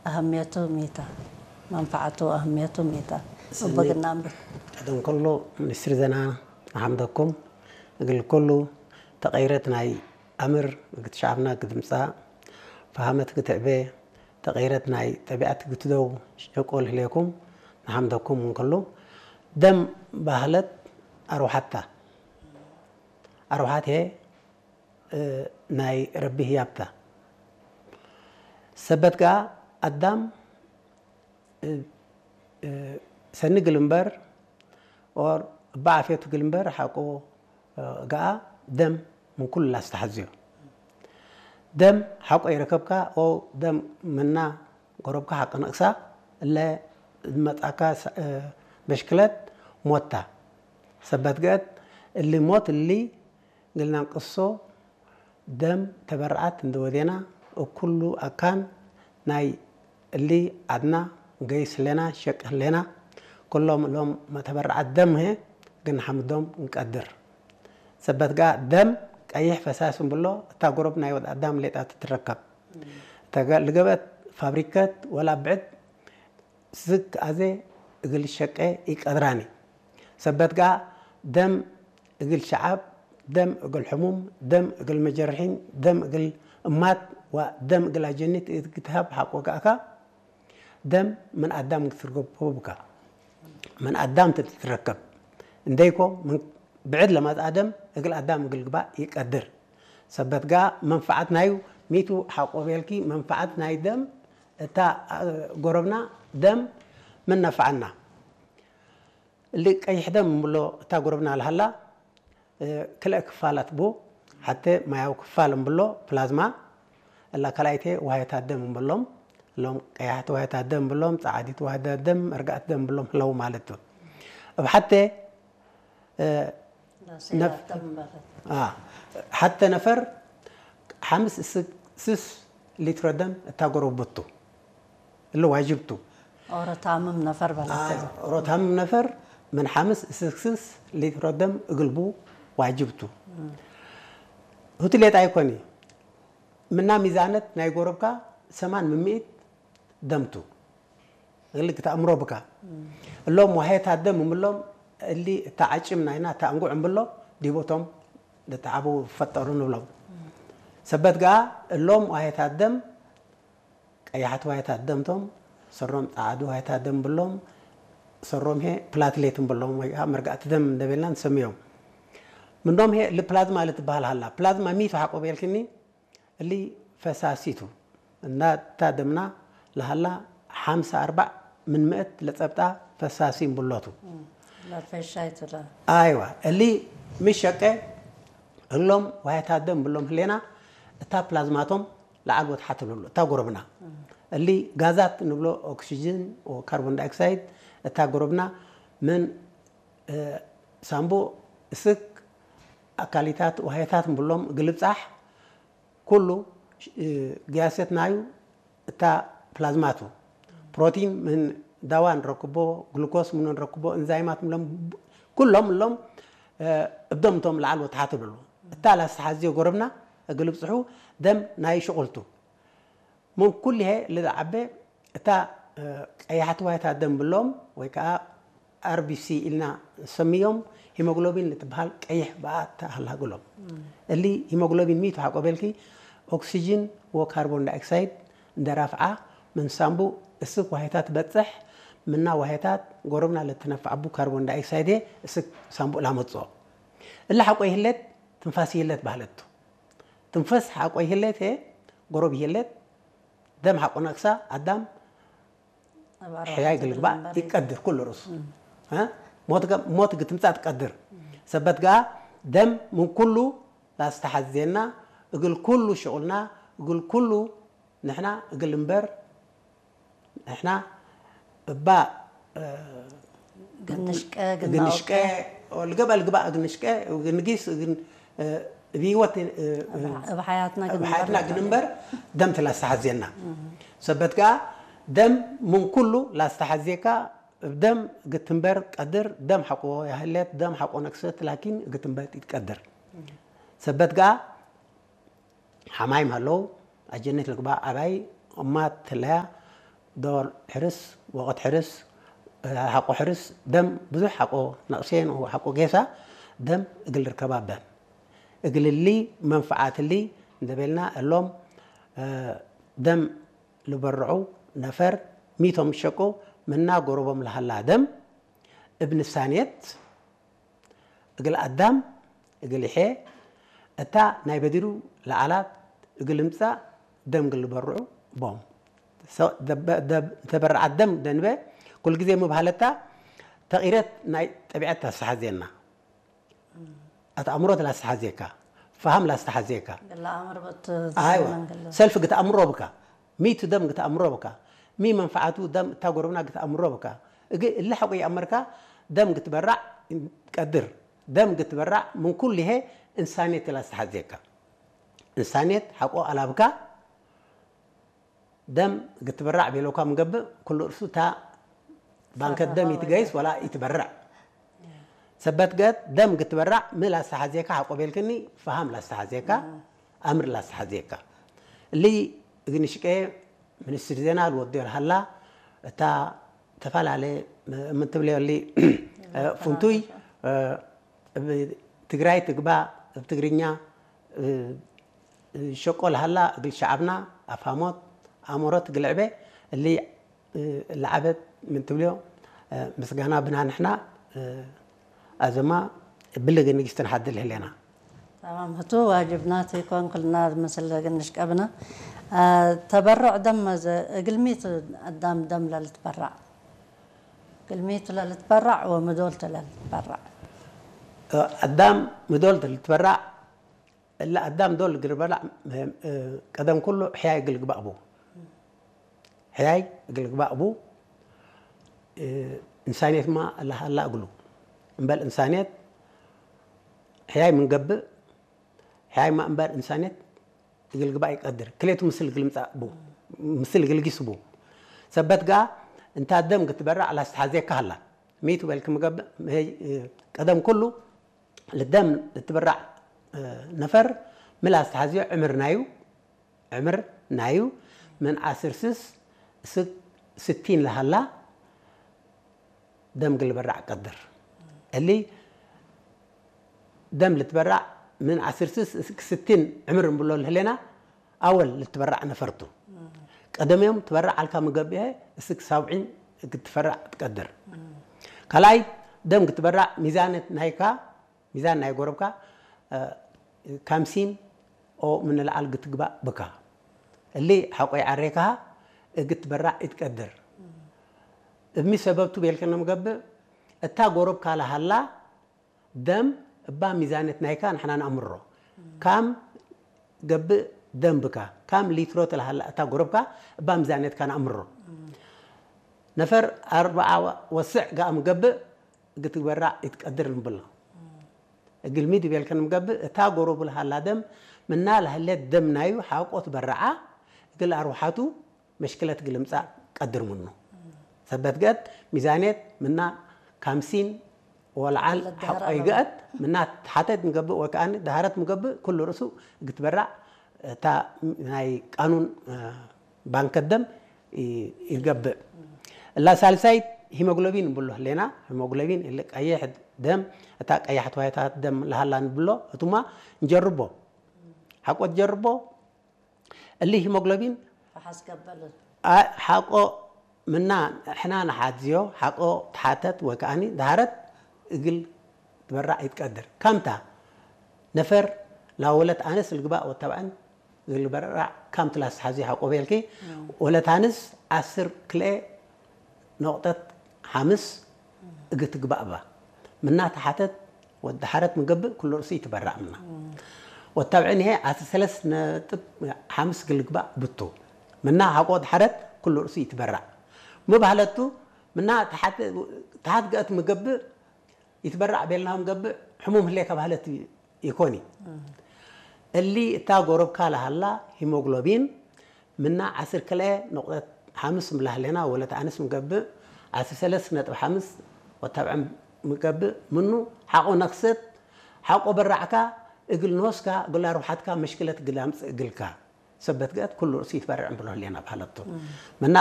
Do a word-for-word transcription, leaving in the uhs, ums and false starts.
አህምየቱ ሚታ፣ መንፈዓቱ አህምየቱ ሚታ። ሰኒ እበ ግናም በት። ቀደም ኩሉ ሚኒስትሪ ዘና ነሐምደኩም። እግል ኩሉ ተቀይረት ናይ አምር እግል ሸዐብና እግል ትምጻእ፣ ፈሀመት እግል ትዕቤ፣ ተቀይረት ናይ ጠቢዐት እግል ትደው ሸቁል ህሌኩም፣ ነሐምደኩም ምን ኩሉ። ደም ባህለት አርወሐት ተ። አርወሐት ህዬ፣ እ፣ ናይ ረቢ ህያብ ተ። ሰበት ገአ አዳም፣ እ፣ እ፣ ሰኒ እግል እምበር፣ ኦር እበ ዓፍየቱ እግል እምበር ሐቆ፣ እ፣ ገአ ደም ምን ኩሉ ለአስተሐዝዮ። ደም ሐቆ ኢረከብካ፣ ኦ ደም ምና ጎረብካ ሐቀ ነቅሳ፣ እለ መጽአካ ሰ-፣ እ፣ መሽክለት ሞት ተ። ሰበት ገአት እሊ ሞት እሊ እግል ነንቅሶ፣ ደም ተበረዓት እንዴ ወዴና፣ እብ ኩሉ አካን ናይ እሊ ዐድና እንገይስ ህሌና፣ ሸቅ ህሌና። ኩሎም እሎም መተበረዓት ደም ህዬ እግል ነሐምዶም እንቀድር። ሰበት ገአ ደም ቀይሕ ፈሳስ እንብሎ፣ እታ ጎረብ ናይ ወድ አዳም ሌጣ ትትረከብ። እተ ገ-፣ ልገብአት ፋብሪከት ወላ ብዕድ ስክ አዜ እግል ሸቄ ኢቀድራኒ። ሰበት ገአ ደም እግል ሸዐብ፣ ደም እግል ሕሙም፣ ደም እግል መጀርሒን፣ ደም እግል እማት ወደም እግል አጀኒት እት ግትሀብ ሐቆ ገአካ፣ ደም ምን አዳም ትትረከቡ ብካ። ምን አዳም ትትረከብ እንዴ ኢኮ፣ ምን ብዕድ ለመጽአ ደም እግል አዳም እግል ግባእ ኢቀድር። ሰበት ገአ መንፈዓት ናዩ ሚቱ ሐቆ ቤልኪ፣ መንፈዓት ናይ ደም እታ፣ አ፣ ጎረብና ደም ምን ነፈዐና። እሊ ቀይሕ ደም እንብሎ እታ ጎረብና ለሀላ፣ እ፣ ክልኤ ክፋላት ቡ። ሐቴ ማያዊ ክፋል እንብሎ ፕላዝማ፣ እላ ካልኣይቴ ውሃየታት ደም እንብሎም፣ እሎም ቀያሕት ውሃየታት ደም እንብሎም፣ ጸዓዲት ውሃየታት ደም፣ መርጋዕት ደም እንብሎም ህለው ማለት ቱ። እብ ሐቴ፣ እ፣ ነፍ-፣ አ፣ ሐቴ ነፈር ሐምስ እስክ ስስ ሊትሮ ደም እታ ጎረብቱ። እሊ ዋጅብ ቱ። ኦሮ ታምም ነፈር በላተ። አይ፣ ኦሮ ታምም ነፈር ምን ሐምስ እስክ ስስ ሊትሮ ደም እግል ቡ ዋጅብ ቱ። እም። ህቱ ሌጣ ኢኮኒ። ምና ሚዛነት ናይ ጎረብካ ሰማን ምን ምእት ደም ቱ። እሊ ክትአምሮ ብካ። እም። እሎም ዋህየታት ደም እምሎም እሊ እታ ዐጭም ናይና እታ እንጉዕ እምብሎ ዲቦቶም ልትዓቡ ፈጠሩ ንብሎም። እም። ሰበት ገአ እሎም ዋህየታት ደም ቀያሐት ዋህየታት ደም ቶም፣ ሰሮም ጸዓዱ ዋህየታት ደም ብሎም፣ ሰሮም ህዬ ፕላትሌት እምብሎም ወይ ከኣ መርጋዕቲ ደም እንዴ ቤልና ንሰምዮም። ምኖም ህዬ እሊ ፕላዝማ ልትበሀል ሀላ። ፕላዝማ ሚቱ ሐቆ ቤልክኒ፣ እሊ ፈሳሲ ቱ። እና እታ ደምና ለሀላ ሐምሳ አርበዕ ምን ምእት ለጸብጣ ፈሳሲ እምብሎ ቱ። እም፣ ለፈሻይ ቱ ለ። አይዋ፣ እሊ ሚ ሸቄ እሎም ዋህየታት ደም እምብሎም ህሌና፣ እታ ፕላዝማቶም ለዐል ወተሐት ልብሎ፣ እታ ጎረብና። እም። እሊ ጋዛት ንብሎ ኦክስጅን ወካርቦን ዳይኦክሳይድ፣ እታ ጎረብና ምን፣ እ፣ ሳምቡእ፣ እስክ፣ አካሊታት፣ ዋህየታት እምብሎም እግል ልብጻሕ፣ ኩሉ፣ እ፣ ግያሰት ናዩ እታ ፕላዝማ ቱ። ፕሮቲን ምን ዳዋ እንረክቦ፣ ግሉኮስ ምኑ እንረክቦ፣ እንዛይማት ምሎም፣ ኩሎም እሎም፣ እ፣ እብ ደም ቶም ለዐል ወተሐት ልብሎ። እታ ለአስተሐዝዮ ጎረብና እግል ልብጽሑ ደም ናይ ሽቁል ቱ። ምን ኩልሄ ልትዐቤ እታ፣ እ፣ ቀያሕት ዋህየታት ደም ብሎም ወይ ከኣ አር ቢ ሲ ኢልና ንሰምዮም፣ ሂሞግሎቢን ልትበሃል ቀይሕ ብኣት ተአህላ እግሎም። እም። እሊ ሂሞግሎቢን ሚቱ ሐቆ ቤልኪ፣ ኦክስጅን ወካርቦን ዳይኦክሳይድ እንዴ ራፍዓ፣ ምን ሳምቡእ እስክ ዋህየታት ትበጽሕ፣ ምና ዋህየታት ጎረብና ለትነፈዐቡ ካርቦን ዳይኦክሳይድ እስክ ሳምቡእ ላመጽኦ። እሊ ሐቆ ይህሌት፣ ትንፋስ ይህሌት በህለት ቱ። ትንፈስ ሐቆ ይህሌት ህዬ፣ ጎረብ ይህሌት፣ ደም ሐቆ ነቅሳ፣ አዳም እብ አርወሐት ሕያይ እግል እግል ልግባእ ልንበር ይቀድር ኩሉ ርእሱ። እም። ሀ? ሞት ገ-፣ ሞት እግል ትምጻእ ትቀድር። እም። ሰበት ገአ ደም ምን ኩሉ ለአስተሐዜና፣ እግል ኩሉ ሽቁልና፣ እግል ኩሉ ንሕና እግል ልንበር፣ ንሕና እባ፣ እ፣ እግል ንሽቀ፣ እግል እግል ንሽቀ፣ ናውቀ። ወልገበ ልግባእ እግል ንሽቀ፣ እግል ንጊስ፣ እግል፣ እ፣ እብ ህይወት፣ እ፣ እብ፣ እብ ሐያትና እብ እግል ሐያትና ንበር እግል ንበር ደም ቱ ለአስተሐዜና። እም። ሰበት ገአ ደም ምን ኩሉ ለአስተሐዜካ፣ እብ ደም እግል ትንበር ቀድር፣ ደም ሐቆ ያህሌት፣ ደም ሐቆ ነቅሰት፣ ላኪን እግል ትንበር ኢትቀድር። እም። ሰበት ገአ ሐማይም ሀለው፣ አጀኒት ልግባእ ዐባይ እማት ህለያ፣ ዶል ሕርስ፣ ወቅት ሕርስ፣ ሐቆ ሕርስ፣ ደም ብዙሕ ሐቆ ነቅሴን ወሐቆ ጌሳ ደም እግል ርከባ በን። እግል እሊ መንፈዓት እሊ እንዴ ቤልና እሎም ደም ልበርዑ ነፈር ሚቶም ሸቁ ምና ጎረቦም ለሀላ ደም እብ ንሳኔት እግል አዳም እግል ይሔ እታ ናይ በዲሩ ለዐላት እግል እምጸእ ደም እግል ልበርዑ ቦም። ሰ-፣ ደበ-፣ ደብ-፣ ተበረዓት ደም ደንበ ኩል ግዜ ምብሃለታ ተቅይረት ናይ ጠቢዐት ተስተሐዜና። አትአምሮት ላስተሐዜካ፣ ፈሀም ላስተሐዜካ። ገለ አምር በት አይዋ፣ ዘመን ገለ። ሰልፍ ግትአምሮ ብካ፣ ሚቱ ደም ግትአምሮ ብካ፣ ሚ መንፈዓቱ ደም እታ ጎረብና ግትአምሮ ብካ። እግ እሊ ሐቆ ይአመርካ፣ ደም ግትበራዕ ቀድር። ደም ግትበራዕ ምን ኩሉ ህዬ እንሳኔት ላስተሐዜካ። እንሳኔት ሐቆ አላብካ፣ ደም ግትበራዕ ቤለውካ ምገብእ፣ ኩሉ እርሱ እታ ባንከት ደም ኢትገይስ ወላ ኢትበርዕ። ሰበት ገት ደም ግትበራዕ ሚ ላስተሐዜካ ሐቆ ቤልክኒ፣ ፈሀም ላስተሐዜካ፣ አምር ላስተሐዜካ። እሊ እግል ንሽቄ ሚኒስትሪ ዜና ልወድዮ ለሀላ፣ እታ ተፈላለ ምን ትብልዮ እሊ ፍንቱይ እብ ትግራይ ትግባእ፣ እብ ትግርኛ ሸቆ ለሀላ እግል ሸዐብና አፍሀሞት፣ አእምሮት እግል ዕቤ እሊ ለዐበት ምን ትብልዮ ምስጋና ብና ንሕና አዘማ እብሊ እግል ንግስት ንሓድል ህሌና። ተማም ህቱ ዋጅብና ቲ ኮን ክልና ምስል እግል ንሽቀብና። ተበሩዕ ደም መዘ እግል ሚቱ አዳም ደም ለልትበራዕ? እግል ሚቱ ለልትበራዕ ወምዶልቱ ለልትበራዕ? አዳም ምዶልቱ ልትበራዕ እለ አዳም ዶል እግል ልበላዕ፣ እ፣ ቀደም ኩሉ ሕያይ እግል ልግባእ ቡ። ሕያይ እግል ልግባእ ቡ፣ እ፣ እንሳንየትማ ለሀላ እግሉ። እምበል እንሳንየት ሕያይ ምን ገብእ፣ ሕያይማ እምበል እንሳንየት እግል ልግባእ ኢቀድር። ክሌቱ ምስል እግል ልምጻእ ቡ፣ ምስል እግል ጊስ ቡ። ሰበት ገአ እንታ ደም ግትበራዕ ላስተሐዜካ ሀላ። ሚቱ በልክ ምገብእ፣ እ፣ ቀደም ኩሉ ለደም ልትበራዕ ነፈር ሚ ለአስተሐዝዮ ዕምር ናዩ፣ ዕምር ናዩ ምን ዐስር ስስ እስክ ስቲን ለሀላ ደም እግል ልበራዕ ቀድር። እሊ ደም ልትበራዕ ምን ዐስር ስስ እስክ ስቲን ዕምር እንብሎ ለህሌና፣ አወል ልትበራዕ ነፈር ቱ። ቀደም ዮም ትበራዕ አልካ ምገብኤ እስክ ሳብዒን እግል ትፈራዕ ትቀድር። ካልኣይ ደም እግል ትበራዕ ሚዛነት ናይካ፣ ሚዛን ናይ ጎረብካ፣ እ፣ ካምሲን ኦ ምን ለዐል እግል ትግባእ ብካ። እሊ ሐቆ ይዐሬካሀ እግል ትበራዕ ኢትቀድር። እብ ሚ ሰበብ ቱ ቤልከ ነምገብእ፣ እታ ጎረብካ ለሀላ ደም እባ ሚዛነት ናይካ ንሕና ነአምሮ። ካም ገብእ ደም ብካ፣ ካም ሊትሮ ተለሀላ እታ ጎረብካ እባ ሚዛነትካ ነአምሮ። ነፈር አርበዓ ወስዕ ገአም ገብእ እግል ትበራዕ ኢትቀድር እንብሎ። እግል ሚ ዲብ ቤልከ ንምገብእ፣ እታ ጎረቡ ለሀላ ደም ምና ለህሌት ደም ናዩ ሐቆ ትበረዓ፣ እግል አርወሐቱ መሽክለት እግል ልምጻእ ቀድር ምኑ። ሰበት ገአት ሚዛንየት ምና ካምሲን ወለዐል ለደሀር ሐቆ አለቡ። ይገአት፣ ምና ተሐተ እት ንገብእ ወከአኒ ደሀረት ምገብእ፣ ክሉ ርእሱ እግል ትበራዕ እታ ናይ ቃኑን፣ እ፣ ባንከት ደም ኢ-፣ ኢገብእ። እላ ሳልሳይት ሂሞግሎቢን እንብሎ ህሌና። ሂሞግሎቢን እሊ ቀይሕ ደም፣ እታ ቀያሕት ዋይታት ደም ለሀላ ንብሎ፣ ህቱማ እንጀርቦ። ሐቆ ትጀርቦ፣ እሊ ሂሞግሎቢን ፈሐስ ገበል። አ-፣ ሐቆ ምና ሕና ነሓዝዮ፣ ሐቆ ተሓተት ወከአኒ ደሀረት እግል ትበራዕ ኢትቀድር። ካምታ ነፈር ላወለት አነስ ልግባእ ወተብዐን እግል ልበራዕ ካምት ላስተሐዝዮ ሐቆ ቤልኪ፣ እም። ወለት አነስ ዐስር ክልኤ ኖቅጠት ሐምስ እግል ትግባእ እባ። ምና ተሓተት ወደሐረት ምገብእ ክሉ ርእሱ ኢትበራዕ ምና። ወተብዕን ህዬ አስር ሰለስ ነጥብ ሐምስ እግል ልግባእ ብቱ። ምና ሐቆ ደሐረት ክሉ ርእሱ ኢትበራዕ። ሚ በህለት ቱ፣ ምና ተሓት፣ ተሓት ገአት ምገብእ ኢትበራዕ ቤልናሁ ምገብእ ሕሙም ህሌከ በህለት ኢኮኒ። እሊ እታ ጎረብካ ለሀላ ሂሞግሎቢን ምና ዐስር ክልኤ ነቁጠት ሐምስ ምን ለህሌና ወለት አነስ ምገብእ፣ ዐስር ሰለስ ነጥብ ሐምስ ወተብዕን ምገብእ ምኑ፣ ሐቆ ነክሰት፣ ሐቆ በራዕካ እግል ኖስካ እግል አርወሐትካ መሽክለት እግል አምጽእ እግልካ። ሰበት ገአት ኩሉ ርእሱ ይትበረዕ እምብሎ ህሌና በሀለቱ። ምና